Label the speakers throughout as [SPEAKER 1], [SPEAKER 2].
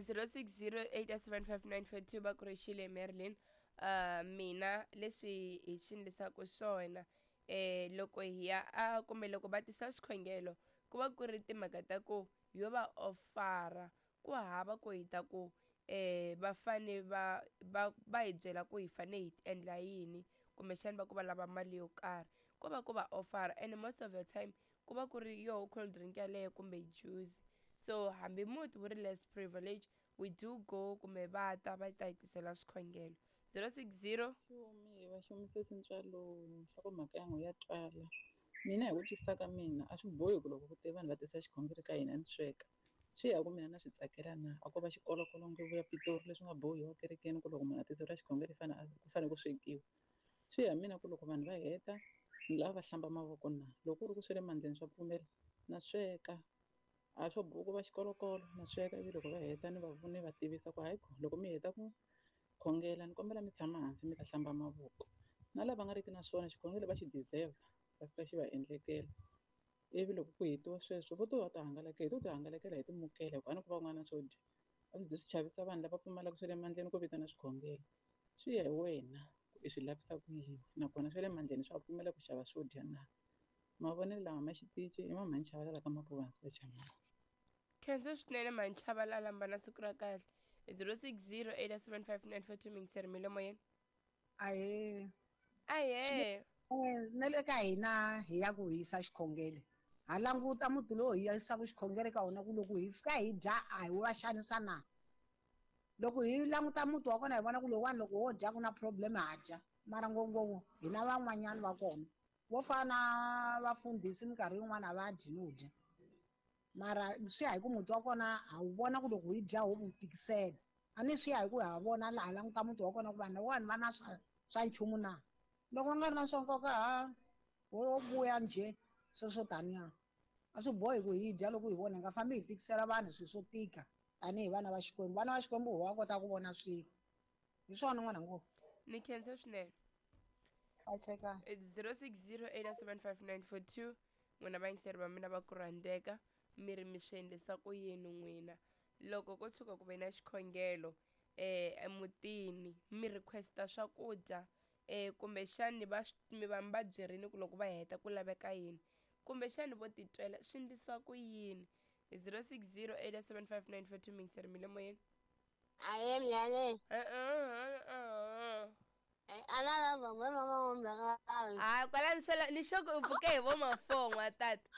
[SPEAKER 1] 06087594 va ku ri xile Marilyn. Mina leswi hi swi endlisaka swona loko hi ya a kumbe loko va tisa swikhongelo ku va ku ri timhaka ta ku yo va ofara ku hava ku hi ta ku va fane va va va hi byela ku hi fane hi endla yini kumbexani va ku va lava mali yo karhi ko va ku va ofara and most of the time ku va ku ri yoho cold drink yaleyo kumbe juice. So hambi muti wu ri less privilege we do go kumbe va ta va ta hi tisela swikhongelo. 060
[SPEAKER 2] Xumi va xumise tintswalo swa ku mhaka ya n'we ya twala. Mina hi ku twisisa ka mina a swi bohi ku loko ku te vanhu va tisa xikhongelo ka hina ni sweka. Swi ya ku mina na swi tsakela na a ko va xikolokolo nguvu ya Pitori leswi nga bohiwa kerekeni ku loko munhu a tiseriwa xikhongelo ku fanele ku swekiwa. Swi ya mina ku loko vanhu va heta ni lava va hlamba mavoko na loko ku ri ku swi le mandleni swa pfumela na sweka. A swo boha ku va xikolokolo na sweka ivi loko va heta ni va ni va tivisa ku hayi loko mi heta ku khongela ni kombela mi tshama hansi mi ta hlamba mavoko. Na lava nga riki na swona xikhongelo va xi deserve va fika xi va endlekela. Ivi loko ku hetiwa sweswo vo to va ta hangalaka hi to ti hangalakela hi timukela hikuva a ni ku van'wana swo dya. A swi ze swi chavisa vanhu lava pfumalaka swa le mandleni ku vitana swikhongelo. Swi ya hi wena ku i swi lavisa ku yini nakona swa le mandleni swa pfumela ku xava swo dya na. Mavonelo lama ma xitichi i ma mhani Chavalala ka Mapuvansi va Chamani.
[SPEAKER 1] Khensa swinene mhani Chavalala mbana siku ra kahle. 06087594 mingiseri milomo yena.
[SPEAKER 3] Ahee.
[SPEAKER 1] Ahee.
[SPEAKER 3] Na le ka hina hi ya ku hisa xikhongelo. Ha languta muti lowu hi yisaka xikhongelo ka wona ku loko hi fika hi dya a hi va xanisa na. Loko hi languta muti wa kona hi vona ku lowuwani loko wo dya ku na problem ha dya. Mara ngopfungopfu hina van'wanyana va kona. Vo fana na vafundhisi minkarhi yin'wana a va dyi no dya. Mara swi ya hi ku muti wa kona ha wu vona ku loko hi dya ho wu tikisela. A ni swi ya hi ku ha vona laha languta muti wa kona ku vanhu lavawani va na swa nchumu na. Loko va nga ri na swa nkoka ha wo vuya njhe sweswo taniya. A swi bohi ku hi dya loko hi vona hi nga fambi hi tikisela vanhu swilo swo tika tanihi vana va Xikwembu. Vana va Xikwembu va kota ku vona swilo. Hi swona n'wana ngopfu.
[SPEAKER 1] Ni khensa swinene.
[SPEAKER 3] Hlayiseka.
[SPEAKER 1] It's 06087594 n'wina vayingiseri va mina va ku rhandzeka mi ri mi swi endlisa ku yini n'wina loko ko tshuka ku ve na xikhongelo emutini mi requesta swakudya kumbexani va mi va mi va byerini ku loko va heta ku laveka yini kumbexani vo titwela swi endlisa ku yini. 06087594 mingiseri mi le moyeni.
[SPEAKER 4] Ahee mnyane.
[SPEAKER 1] Hayi kwalani swela ni xoko u pfuke hi vo ma 4 n'wa tata.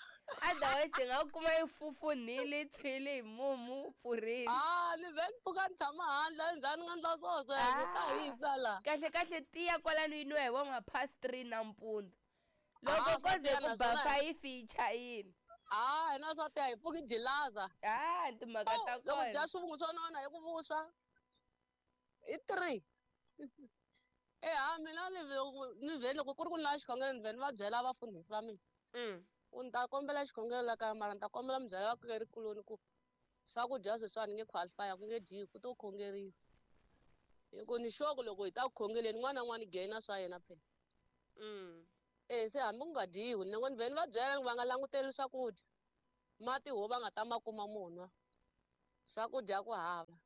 [SPEAKER 1] Otherwise hi nga kuma yi fufunhile yi tshwile hi mumu wu pfurile.
[SPEAKER 4] Ah, ni vhe ni pfuka ni tshama handle njhani nga ndla swo sweswo ka hisa la.
[SPEAKER 1] Kahle kahle tiya kwalani yi nwiwa hi vo ma past 3 nampundzu. Loko ko ze ku ba 5 yi chayile.
[SPEAKER 4] Ah, hina swa tiya hi pfuki jilaza.
[SPEAKER 1] Ah, timhaka ta
[SPEAKER 4] Loko
[SPEAKER 1] kona.
[SPEAKER 4] dya swivungu swo nona hi ku vuswa. Hi 3. Mina ni vhe loko ku ri ku ni lava xikhongelo ni vhe ni va byela vafundhisi va mina. Ku ni ta kombela xikhongelo la kaya mara ni ta kombela mi byela vakhongerikuloni ku swakudya sweswiwani ni nge qualify ku nge dyiwi ku to khongeriwa. Hi ku ni sure ku loko hi ta ku khongeleni n'wana na n'wana gain swa yena phela. Se hambi ku nga dyiwi ni ngo ni vhe ni va byela va nga languteli swakudya. Mati ho va nga ta ma kuma munwa. Swakudya ku hava.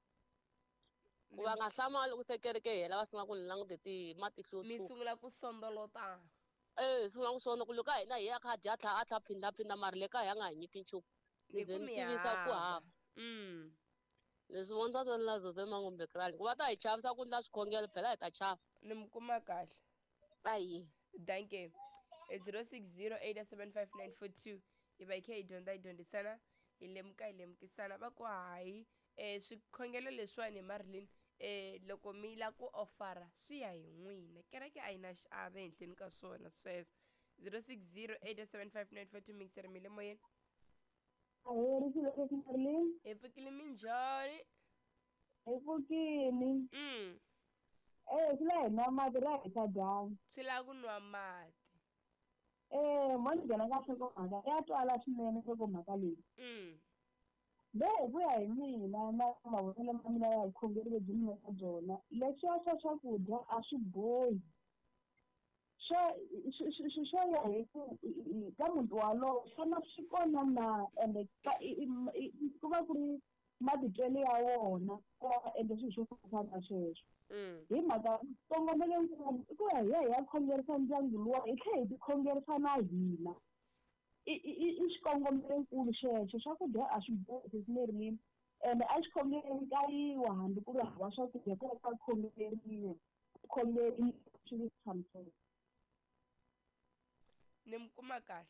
[SPEAKER 4] Ku va nga hlamali loko se kereke yi hela va sungula ku ni langute ti matihlo yo
[SPEAKER 1] Mi
[SPEAKER 4] tshuka.
[SPEAKER 1] sungula ku sondolota.
[SPEAKER 4] Sungula ku sondolola ku loko a hina hi ya kha dya tlha a tlha phindaphinda mara le kaya a nga hi nyiki nchumu.
[SPEAKER 1] Ni
[SPEAKER 4] Ni vhe
[SPEAKER 1] ku
[SPEAKER 4] ni
[SPEAKER 1] mi
[SPEAKER 4] tivisa ku
[SPEAKER 1] hava.
[SPEAKER 4] hava. Leswi vonisa swo na Zozo Mangombe Krali. Ku va ta hi chavisa ku ndla swikhongelo phela hi ta chava.
[SPEAKER 1] Ni mi kuma kahle.
[SPEAKER 4] Ayi.
[SPEAKER 1] Danke. 06087594 hi va hi kha hi dyondza hi dyondzisana hi lemuka hi lemukisana va ku hayi swikhongelo leswiwani hi Marilyn loko mi la ku ofara swi ya hi n'wina kereke a yi na xiave ehenhleni ka swona sweswo. 06087594 mixer mi le moyeni.
[SPEAKER 5] Ahee, ri xilo lexi Marilyn.
[SPEAKER 1] Hi pfukile minjhani?
[SPEAKER 5] Hi pfukile. Swi la hi nwa mati ra hisa dyambu.
[SPEAKER 1] Swi lava ku nwa mati.
[SPEAKER 5] Mo ni nghena ka nhlokomhaka ya twala swinene nhlokomhaka leyi. Le hi ku ya hi mina na mavonelo ma mina ya vukhongeri lebyi ni nga ka byona leswiya swa swakudya a swi bohi. Swo ya hi ku ka muti walowo xana swi kona na ende ku va ku ri Matitwelo ya wona ku va va endla swilo swo fana na sweswo. Hi mhaka xikongomelo i ku ya hi ya hi ya khongerisa ndyangu luwa hi tlhela hi ti khongerisa na hina. I xikongomelonkulu xexo. Swakudya a swi bohi Sesi Merlin ende a xikhongelweni ka yiwa hambi ku ri hava swakudya ku va ka khongeleriwa ku khongeriwa swi tshamiseka.
[SPEAKER 1] Ni mi kuma kahle.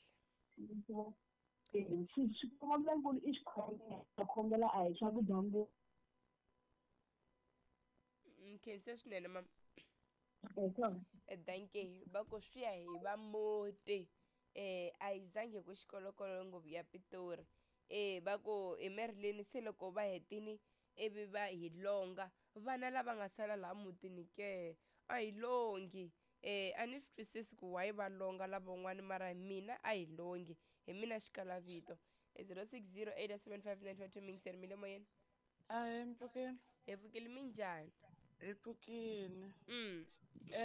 [SPEAKER 5] Xikongomelonkulu i xikhongelo, khongela a hi swakudya ngopfu.
[SPEAKER 1] Nkhense swinene mama. Dankie va ku swi ya hi va muti a yi zangi ku xikolokolo ngopfu ya Pitori va ku hi Merlin se loko va hetini ivi va hi longa vana lava nga sala laha mutini ke a hi longi a ni swi twisisi ku why va longa lavan'wani mara mina a hi longi hi mina xikalavito 06087595 mingiseri mi le moyeni.
[SPEAKER 6] Ahee mpfukeni.
[SPEAKER 1] Hi pfukile minjhani?
[SPEAKER 6] Hi pfukile.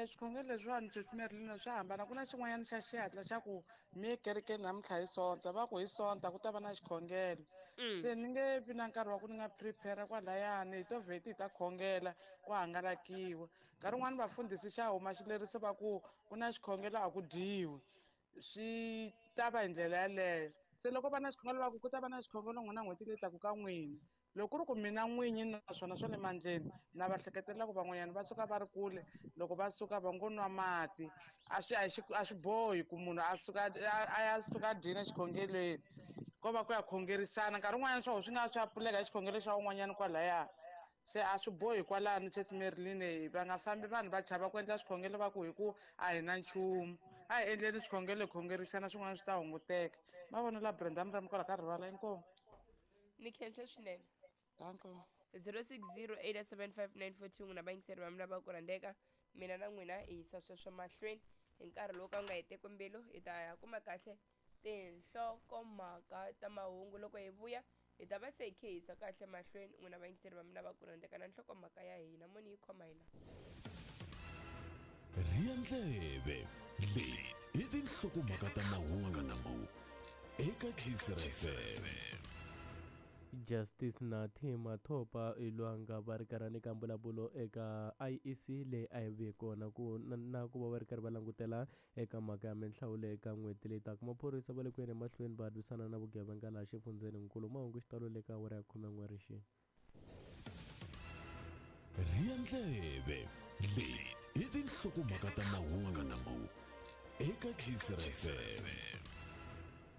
[SPEAKER 6] Swikhongelo leswiwani Sesi Merlin swa hambana ku na xin'wanyana xa xihatla xa ku mi ye kerekeni namuntlha hi sonta va ku hi sonta ku ta va na xikhongelo se ni nge vi na nkarhi wa ku ni nga prepare kwalayani hi to vheti hi ta khongela ku hangalakiwa nkarhi wun'wani vafundhisi xa huma xileriso va ku ku na xikhongelo a ku dyiwi swi ta va hi ndlela yaleyo se loko va na xikhongelo va ku ku ta va na xikhongelo n'wina n'hweti leyi taka ka n'wina loko ku ri ku mina n'winyi naswona swa le mandleni na va hleketelela ku van'wanyana va suka va ri kule loko va suka va ngo nwa mati a swi a swi bohi ku munhu a suka a ya suka a dyile xikhongelweni ko va ku ya khongerisana nkarhi wun'wanyana swo swi nga swa pfuleka hi xikhongelo xa un'wanyana kwalaya se a swi bohi kwalano Sesi Merlin va nga fambi vanhu va chava ku endla swikhongelo va ku hi ku a hi na nchumu a hi endleni swikhongelo hi khongerisana swin'wana swi ta hunguteka mavonelo la Brenda Mrami kwala ka rivala inkomu.
[SPEAKER 1] Ni khense swinene.
[SPEAKER 6] Danko.
[SPEAKER 1] 06087594 n'wina vayingiseri va mina va ku rhandzeka mina na n'wina hi yisa sweswo mahlweni hi nkarhi lowu ka wu nga heteki mbilu hi ta ya kuma kahle tinhlokomhaka ta mahungu loko hi vuya hi ta va se hi khe hi yisa kahle mahlweni n'wina vayingiseri va mina va ku rhandzeka na nhlokomhaka ya hina moni yi khoma hi la.
[SPEAKER 7] Rhiya ndleve leti i tinhlokomhaka ta mahungu eka Gcr FM.
[SPEAKER 8] Justice Nathi Mathopa Ilwanga va ri karhi nyika mbulavulo eka IEC leyi a yi ve kona ku na ku va va ri karhi va langutela eka mhaka ya minhlawulo eka n'hweti leyi taka. Maphorisa va le ku yeni emahlweni va lwisana na vugevenga laha xifundzheninkulu. Mahungu xitalo le ka awara ya 11 rixini.
[SPEAKER 7] Rhiya ndleve leti i tinhlokomhaka ta mahungu eka Gcr FM.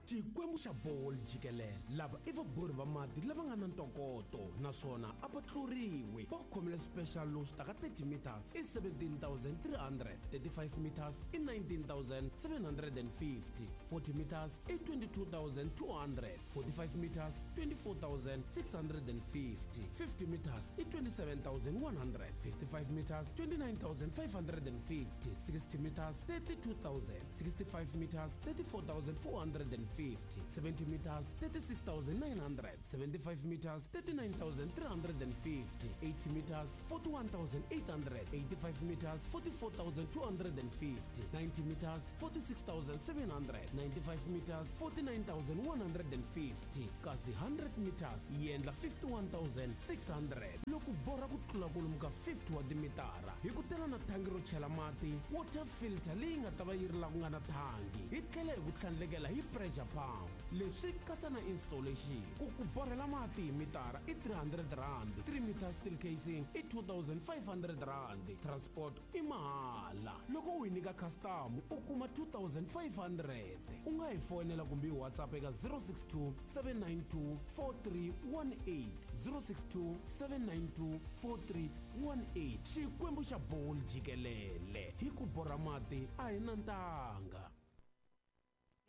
[SPEAKER 9] Xikwembu xa Ball jikelele lava i vabori va mati lava nga na ntokoto naswona a va tluriwi va khomile special lowu swi taka 30 meters i 17300 35 meters i 19750 40 meters i 22200 45 meters 24650 50 meters i 27100 55 meters 29550 60 meters 32000 65 meters 34450 70 meters 36900 75 meters 39350 80 meters 41800 85 meters 44250 90 meters 46700 95 meters 49150 kasi 100 meters yi endla 51600 loko borha ku tlula kwalomu ka 50 wa timitara hi ku tela na thangi ro chela mati water filter leyi nga ta va yi ri la ku nga na thangi hi tlhela hi ku tlhandlekela hi pressure pump leswi katsa na installation ku ku borhela mati hi mitara i 300 rand 3 meter steel casing i 2500 rand transport i mahala loko u hi nyika custom u kuma 2500 u nga hi fonela kumbe hi WhatsApp eka 062 792 4318 062 792 4318 Xikwembu xa Ball jikelele hi ku borha mati a hi na ntanga.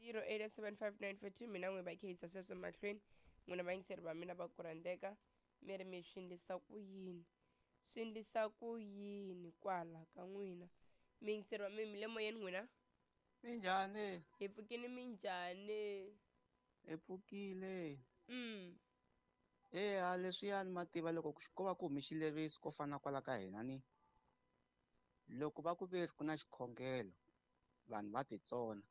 [SPEAKER 1] 087594 mina n'wi va khehisa sweswo mahlweni n'wina vayingiseri va mina va ku rhandzeka mi ri mi swi endlisa ku yini swi endlisa ku yini kwala ka n'wina miyingiseri wa mi le moyeni n'wina.
[SPEAKER 10] Minjhani?
[SPEAKER 1] Hi pfukile minjhani?
[SPEAKER 10] Hi pfukile. Eya leswiyani ma tiva loko ko va ku humi xileriso ko fana kwala ka hina ni loko va ku ve ku na xikhongelo vanhu va titsona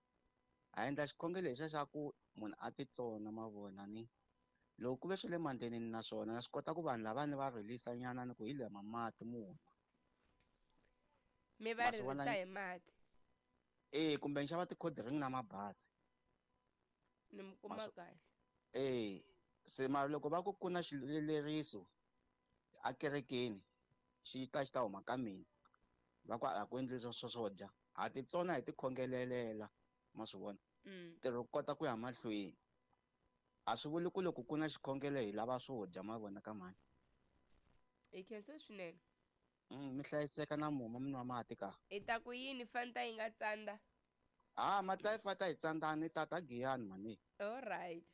[SPEAKER 10] a endla xikhongelo lexiya xa ku munhu a titsona ma vona ni Loko ku ve swi le mandleni na swona na swi kota ku vanhu lavani va rilisa nyana ni ku hi lama mati munhu.
[SPEAKER 1] Mi va ririsa hi mati.
[SPEAKER 10] Eh kumbe ni xava ti-cold drink na mabazi.
[SPEAKER 1] Ni mi kuma kahle.
[SPEAKER 10] Eh se mara loko va ku ku na xileriso a kerekeni xi ta xi ta huma ka mina va ku a ku endli swo swo dya ha titsona hi tikhongelelela ma swi vona ntirho ku kota ku ya mahlweni a swi vuli ku loko ku na xikhongelo hi lava swo dya ma vona ka mhani
[SPEAKER 1] hi khensa swinene
[SPEAKER 10] mi hlayiseka na muma mi nwa mati ka
[SPEAKER 1] i ta ku yini fanta yi nga tsandza
[SPEAKER 10] a mati yi fanta yi tsandzani tata giyani mhani
[SPEAKER 1] all right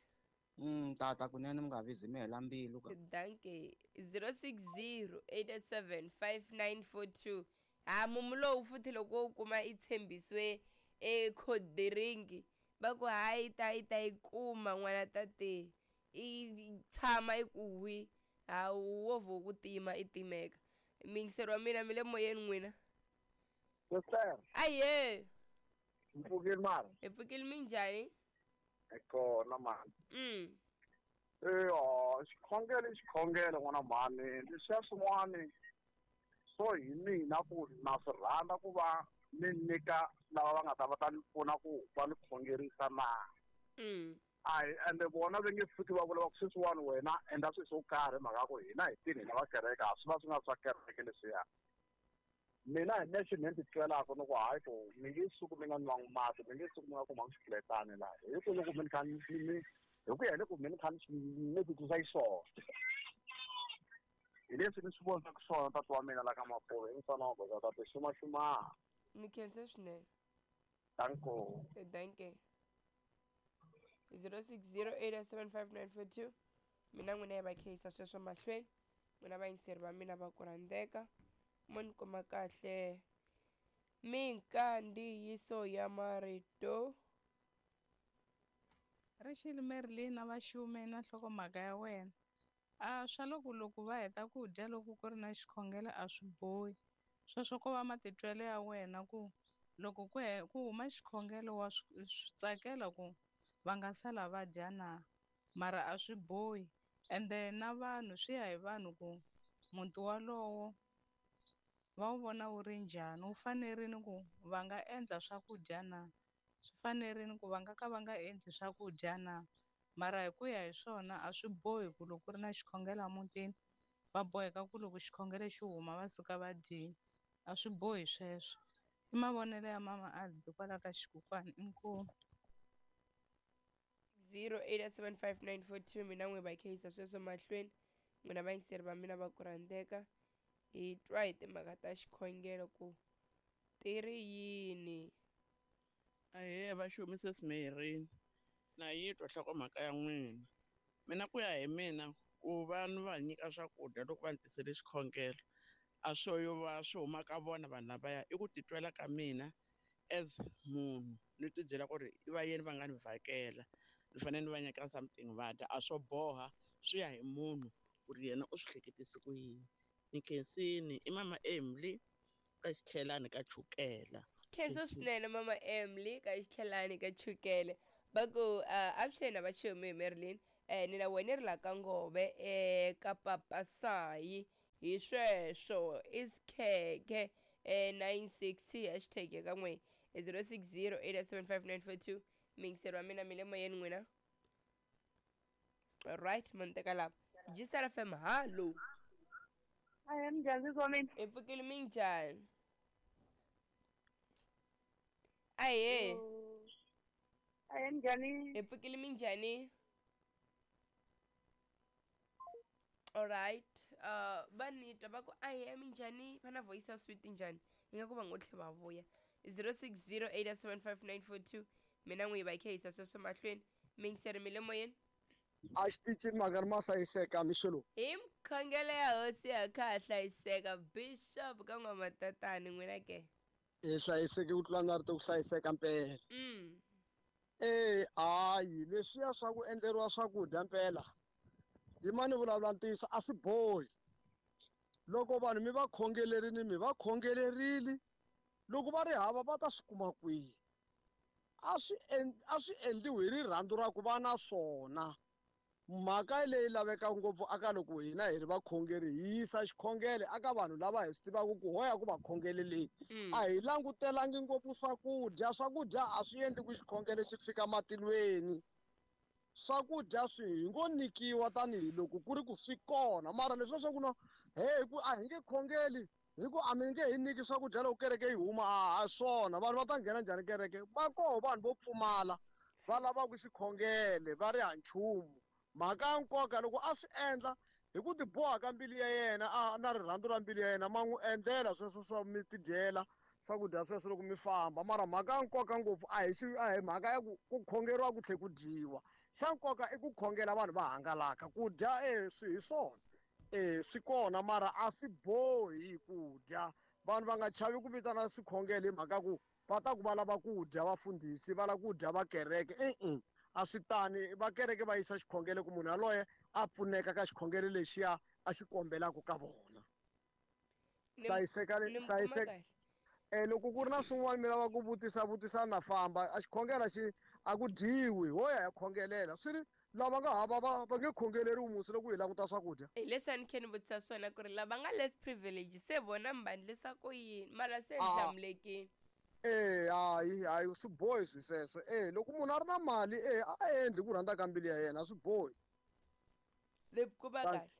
[SPEAKER 10] tata kunene mi nga vizi mi hela mbilu ka
[SPEAKER 1] danke 060 87 5942 ha mumu lowu futhi loko wo kuma i tshembisiwe ekhodiringi va ku hayi ta yi ta yi kuma n'wana tate i tshama i ku hwi ha wo vho ku tima i timeka mingiseri wa mina mi le moyeni n'wina
[SPEAKER 11] Sister.
[SPEAKER 1] Aye.
[SPEAKER 11] Mpfukile mara.
[SPEAKER 1] Hi pfukile minjhani?
[SPEAKER 11] Hi kona mani. Eya, xikhongelo i xikhongelo n'wana mhani leswiya swin'wani swo hi mina ku na swi rhandza ku va ni nyika lava va nga ta va ta ni pfuna ku va ni khongerisa na. A hi ende vona va nge pfuki va vula va ku sweswiwani wena endla swilo swo karhi mhaka ya ku hina hi tini hina va kereke a swi va swi nga swa kereke leswiya. Mina hi nexe ni ti twelaka ni ku hayi ku mi nge suki mi nga nwangi mati mi nge suki mi nga kumangi xifuletani laha hi ku loko mi ni kha ni hi ku ya hi loko mi ni kha ni titwisa xiswona hi leswi ni swi vonisaka swona tata wa mina la ka Mapuve i mfana wa goza tata xumaxuma
[SPEAKER 1] ni khense swinene
[SPEAKER 11] danko
[SPEAKER 1] danke 06087594 mina n'wina yi va kheyisa sweswo mahlweni n'wina vayingiseri va mina va ku rhandzeka mo ni kuma kahle minkandziyiso ya marito
[SPEAKER 12] Rixile Marilyn a va xume na nhlokomhaka ya wena a swa loko loko va heta ku dya loko ku ri na xikhongelo a swi bohi sweswo ko va matitwelo ya wena ku loko ku huma xikhongelo wa swi tsakela ku va nga sala va dya na mara a swi bohi ende na vanhu swi ya hi vanhu ku muti walowo va wu vona wu ri njhani wu fanerile ku va nga endla swakudya na swi fanerile ku va nga ka va nga endli swakudya na mara hi ku ya hi swona a swi bohi ku loko ku ri na xikhongelo emutini va boheka ku loko xikhongelo xi huma va suka va dyile a swi bohi sweswo i mavonelo ya mama Albi kwala ka xikukwani inkomu
[SPEAKER 1] 087594 mina n'wi va kheyisa sweswo mahlweni n'wina vayingiseri va mina va ku rhandzeka hi twa hi timhaka ta xikhongelo ku ti ri yini
[SPEAKER 6] Ahee va xumise Smerini na yi twa nhlokomhaka ya n'wina mina ku ya hi mina ku va ni va nyika swakudya loko va ni tisele xikhongelo a swo yo va swi huma ka vona vanhu lavaya i ku titwela ka mina as munhu ni ti byela ku ri i va yini va nga ni vhakela ni fanele ni va nyika something va dya a swo boha swi ya hi munhu ku ri yena u swi hleketise ku yini ni khensini i mama Emily ka xitlhelani ka chukela
[SPEAKER 1] khensa swinene mama Emily ka xitlhelani ka chukele va ku avuxeni a va xumi hi Marilyn ni na wena ri la ka ngove ka papasayi hi sweswo i sikhekhe 960 hashtag ya ka n'we 06087594 mingiseri wa mina mi le moyeni n'wina right mo ni teka lava Gisela FM hallo
[SPEAKER 5] Ahe minjhani sesi wa mina
[SPEAKER 1] hi pfukile minjhani ahe
[SPEAKER 5] Ahe minjhani
[SPEAKER 1] hi pfukile minjhani alright va ni twa va ku ahe minjhani va na voice ya sweet njhani ingaku va ngo tlhe va vuya 06087594 mina n'wi va kheyisa sweswo mahlweni mingiseri mi le moyeni
[SPEAKER 13] a xitichini mhaka ri ma hlayiseka mixo lowu
[SPEAKER 1] hi mkhongelo ya hosi ya kha ha hlayiseka bishop ka n'wamatatani n'wina ke
[SPEAKER 13] hi hlayiseke ku tlula na rito ku hlayiseka mpela hayi leswiya swa ku endleriwa swakudya mpela yimani vulavula ntiyiso a swi bohi loko vanhu mi va khongelerini mi va khongelerile loko va ri hava va ta swi kuma kwihi a swi endliwi hi rirhandzu ra ku va na swona Mhaka leyi lavekaka ngopfu aka loko hina hi ri vakhongeri hi yisa xikhongelo aka vanhu lava hi swi tivaka ku hoya ku va khongeleleni. A hi langutelangi ngopfu swakudya, swakudya a swi endli ku xikhongelo xi fika matilweni. Swakudya swi hi ngo nyikiwa tanihiloko ku ri ku swi kona, mara leswiya swa ku no he hi ku a hi nge khongeli hi ku a mi nge hi nyiki swakudya loko kereke yi huma, a ha swona. Vanhu va ta nghena njhani kereke? Va koho vanhu vo pfumala va lavaka xikhongele va ri ha nchumu. Mhaka ya nkoka loko a swi endla hi ku tiboha ka mbilu ya yena a na rirhandzu ra mbilu ya yena, ma n'wi endlela sweswo swa mi tidyela swakudya sweswo loko mi famba. Mara mhaka ya nkoka ngopfu a hi xi a hi mhaka ya ku ku khongeriwa ku tlhe ku dyiwa. Xa nkoka i ku khongela vanhu va hangalaka. Ku dya e swi hi swona e swi kona, mara a swi bohi ku dya. Vanhu va nga chavi ku vitana swikhongelo hi mhaka ku va ta ku va lava ku dya vafundhisi, va lava ku dya va kereke. E-e, a swi tani. Va kereke va yisa xikhongelo ku munhu yaloye a pfuneka ka xikhongelo lexiya a xi kombelaka ka vona. Hlayiseka, hlayiseka. E loko ku ri na swin'wana mi lava ku vutisa, vutisani na famba. A xikhongelo xi a ku dyiwi, ho ya hi khongelela. Swi ri lava nga hava va va nge khongeleriwi musi loko hi languta swakudya.
[SPEAKER 1] Hi leswi a ni khe ni vutisa swona ku ri lava nga less privilege se vona mi va endlisa ku yini, mara se ni hlamulekile.
[SPEAKER 13] E hayi hayi swi bohi swi sweswo. E loko munhu a ri na mali e a endli ku rhandza ka mbilu ya yena, a swi bohi.
[SPEAKER 1] Ni kuma kahle.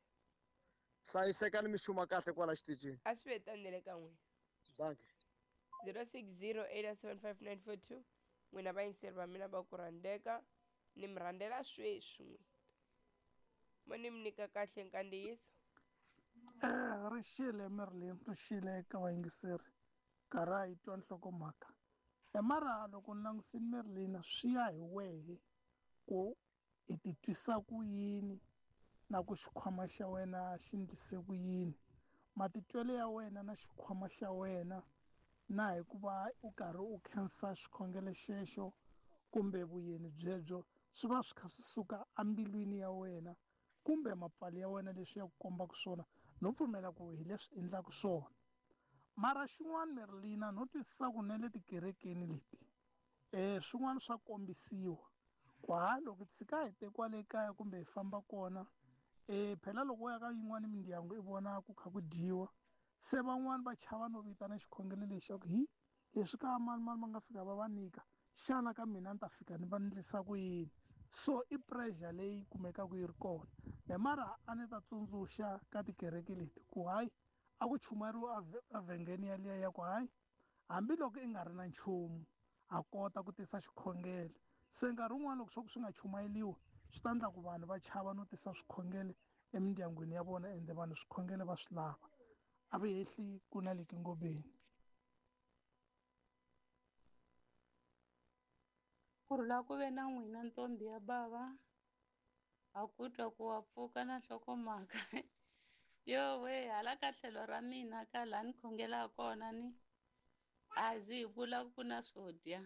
[SPEAKER 13] Hlayisekani mi xuma kahle kwala xitichini.
[SPEAKER 1] A swi ve tani na le ka n'wina.
[SPEAKER 13] Dankie.
[SPEAKER 1] 0608755942 n'wina vayingiseri va mina va ku rhandzeka ni mi rhandzela sweswi n'wina mo ni mi nyika kahle nkandziyiso.
[SPEAKER 14] Ri xile Merlin, ri xile eka vayingiseri karhi a yi twa nhlokomhaka. Mara loko ni langusini Merlin swi ya hi wehe ku i titwisa ku yini na ku xikhwama xa wena xi ndlise ku yini. Matitwelo ya wena na xikhwama xa wena na hikuva u karhi u khensa xikhongelo xexo kumbe vuyeni byebyo swi va swi kha swi suka embilwini ya wena kumbe mapfalo ya wena leswi ya ku kombaka swona no pfumela ku hi leswi endlaka swona. Mara xin'wana Merlina no twisisa ku na le tikerekeni leti swin'wana swa kombisiwa ku ha loko tshika hi te kwale kaya kumbe hi famba kona phela loko u ya ka yin'wana mindyangu i vona ku kha ku dyiwa se van'wani va chava no vitana xikhongelo lexi xa ku hi leswi ka mani mani va nga fika va va nyika xana ka mina ni ta fika ni va ndlisa ku yini. So i pressure leyi kumekaka yi ri kona. Me mara a ni ta tsundzuxa ka tikereke leti ku hayi a ku chumayeriwa evhengeni yaliya ya ku hayi hambiloko i nga ri na nchumu a kota ku tisa xikhongelo. Se nkarhi wun'wani loko swa ku swi nga chumayeriwi swi ta endla ku vanhu va chava no tisa swikhongelo emindyangwini ya vona ende vanhu swikhongelo va swi lava. A va hehli ku na le kingobeni.
[SPEAKER 15] Ku rhula ku ve na n'wina ntombi ya bava, ha ku twa ku wa pfuka na nhlokomhaka. Yo we hala ka tlhelo ra mina ka laha ni khongelaka kona ni a zi hi vula ku na swo dya.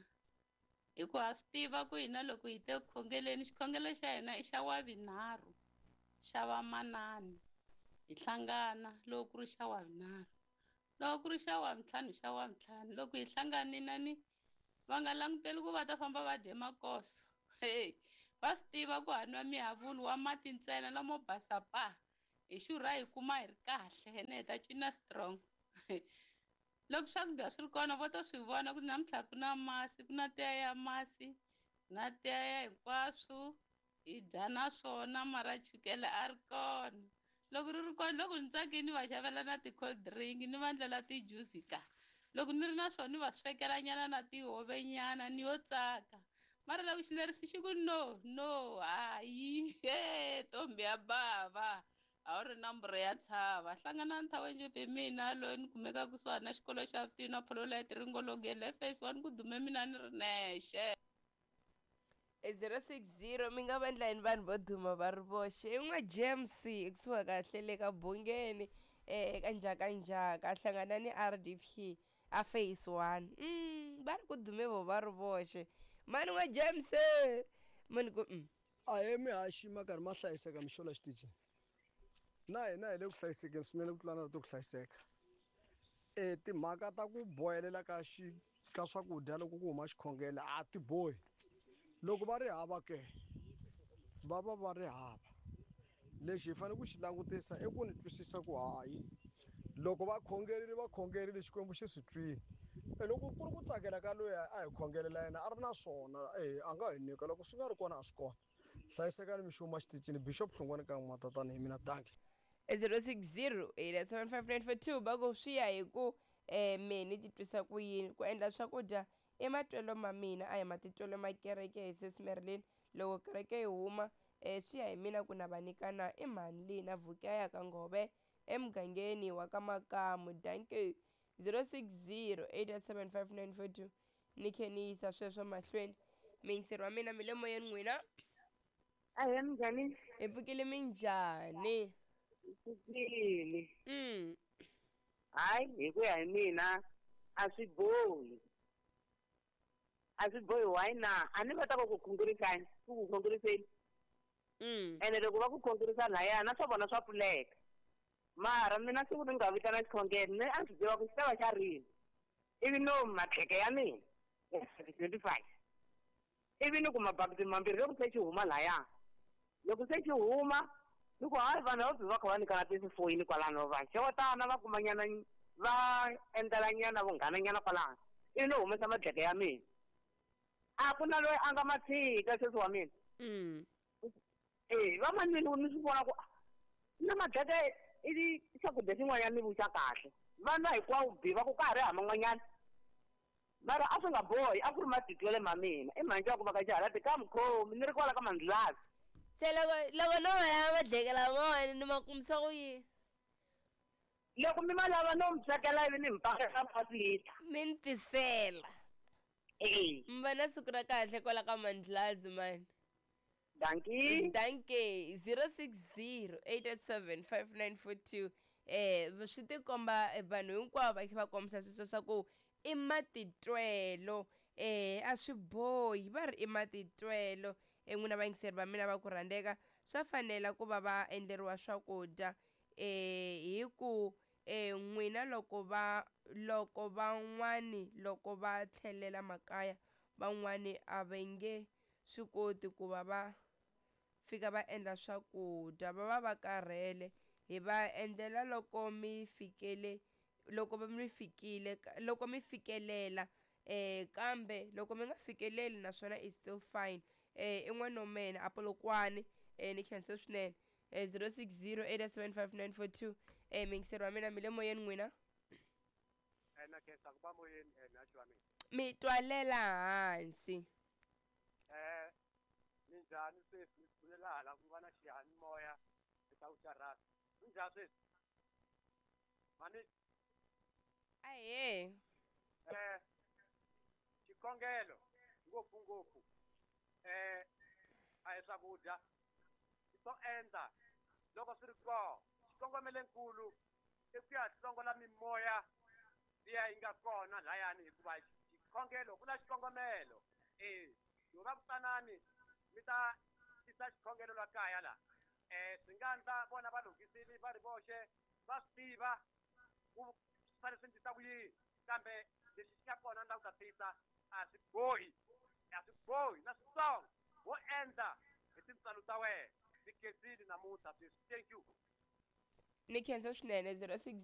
[SPEAKER 15] Hi ku ha swi tiva ku hina loko hi te ku khongeleni xikhongelo xa hina i xa wavinharhu xa vamanani hi hlangana loko ku ri xa wavinharhu loko ku ri xa wavintlhanu xa wavintlhanu loko hi hlanganile ni va nga languteli ku va ta famba va dye makoso. Hey, va swi tiva ku ha nwa mihavulu wa mati ntsena lamo basa pa hi xurha hi kuma hi ri kahle ene hi ta cina strong. Loko swakudya swi ri kona vo ta swi vona ku namuntlha ku na masi, ku na tiya ya masi, ku na tiya ya hinkwaswo hi dya na swona mara chukele a ri kona. Loko ri ri kona loko ni tsakile ni va xavela na ti-cold drink ni va ndlela ti-juice ka. Loko ni ri na swona ni va swekela nyana na tihove nyana ni yo tsaka. Mara loko xileriso xi ku no no hayi he ntombi ya bava a wu ri nomboro ya tshava. Hlangana na Njhepe mina loyi ni kumekaka kusuhani na xikolo xa Vutivi na Phololete Ringologeni le phase 1 ku dume mina ni ri nexe.
[SPEAKER 1] 060 mi nga va endla yini vanhu vo duma va ri voxe. I n'wa James ekusuhi kahle le ka Bungeni eka Njhakanjhaka hlangana ni RDP a phase 1. Va ri ku dume vo va ri voxe. Mani n'wa James mani ku
[SPEAKER 13] A he mihaxi ma karhi ma hlayiseka mixo la xitichini. Na hina hi le ku hlayisekeni swinene ku tlula na to ku hlayiseka. Timhaka ta ku bohelela ka xi ka swakudya loko ku huma xikhongelo a ti bohi. Loko va ri hava ke va va va ri hava. Lexi hi fanele ku xi langutisa i ku ni twisisa ku hayi loko va khongerile va khongerile Xikwembu xi swi twile. E loko ku ri ku tsakela ka loyi a hi khongelela yena a ri na swona e a nga hi nyika loko swi nga ri kona a swi kona. Hlayisekani mi xuma xitichini Bishop Hlongwane ka N'watatana hi mina dankie.
[SPEAKER 1] 060 875 va ku swi ya hi ku um me ni titwisa ku yini ku endla swakudya i matwelo ma mina a hi matitwelo ma kereke hi sis Marilyn loko kereke yi huma um swi ya hi mina ku na va nyika na i mhani leyi na vhuki ya ka ngove emugangeni wa ka makamu dankie 060 875 ni khe ni yisa sweswo mahlweni miyingiseri wa mina mi le moyeni n'wina
[SPEAKER 16] Ahee, minjhani?
[SPEAKER 1] Hi pfukile minjhani?
[SPEAKER 16] Pfukile. Hayi, hi ku ya hi mina a swi bohi. A swi bohi why na? A ni va ta va ku khongerisani, ku ku khongeriseni. Ene loko va ku khongerisa lahaya na swa vona swa pfuleka. Mara mina siku ni nga vitana xikhongelo ni a swi tiva ku xi ta va xa rini. Ivi no matlheke ya mina ya 25. Ivi ni kuma bakiti mambirhi loko se xi huma laya. Loko se xi huma ni ku hayi vanhu va va kha va nyikana tifoyini kwalano va xewetana va kumanyana va endlelanyana vunghananyana kwalano. Ivi ni humesa madleke ya mina. A ku na loyi a nga ma tshika sesi wa mina. Va manini ni swi vona ku na madleke i swakudya xin'wanyana ni vuxa kahle. Va nwa hinkwawo bi va ku ka ha ri hava man'wanyana. Mara a swi nga bohi a ku ri matitwele ma mina. I mhani ku va ka xihalati ka mukhomi ni ri kwala ka mandlulazi.
[SPEAKER 1] Se loko loko no ma lava madleke lamawani ni ma kumisa ku yini?
[SPEAKER 16] Loko mi ma lava no mi swekela ivi ni mi pakela ma lita.
[SPEAKER 1] Mi ni tisela.
[SPEAKER 16] E.
[SPEAKER 1] Mi va na siku ra kahle kwala ka mandlulazi mani.
[SPEAKER 16] Dankie.
[SPEAKER 1] Dankie. 060 887 5942 swi tikomba vanhu hinkwavo va kha va kombisa sweswo swa ku i matitwelo a swi bohi va ri i matitwelo n'wina vayingiseri va mina va ku rhandzeka swa fanela ku va va endleriwa swakudya hi ku n'wina loko va loko van'wani loko va tlhelela makaya van'wani a va nge swi koti ku va va fika va endla swakudya va va va karhele hi va endlela loko mi fikele loko mi fikile loko mi fikelela kambe loko mi nga fikeleli naswona is still fine i n'wana wa mina a Polokwane ni khensa swinene 060 875 miyingiseri wa mina mi le moyeni n'wina
[SPEAKER 17] Na khensa ku va moyeni mhaxi wa mina.
[SPEAKER 1] Mi twalela hansi.
[SPEAKER 17] Minjhani sweswi mi bulela hala ku va na xiyanimoya eka vuxarhasi. Minjhani sweswi? Mani
[SPEAKER 1] Ahee.
[SPEAKER 17] Xikhongelo ngopfungopfu a hi swakudya swo endla loko swi ri kona. Xikongomelonkulu i ku ya hlongola mimoya liya yi nga kona layani hikuva xikhongelo ku na xikongomelo. Loko va ku tanani mi ta tisa xikhongelo la kaya la. Swi nga endla vona va lunghisile va ri voxe va swi tiva ku swi fanele swi endlisa ku yini kambe lexi xi nga kona ni lava ku ta tisa a swi bohi a swi bohi na switsongo wo endla hi tintswalo ta wena. Ni khensile namuntlha sweswi. Thank you.
[SPEAKER 1] Ni khensa swinene 06.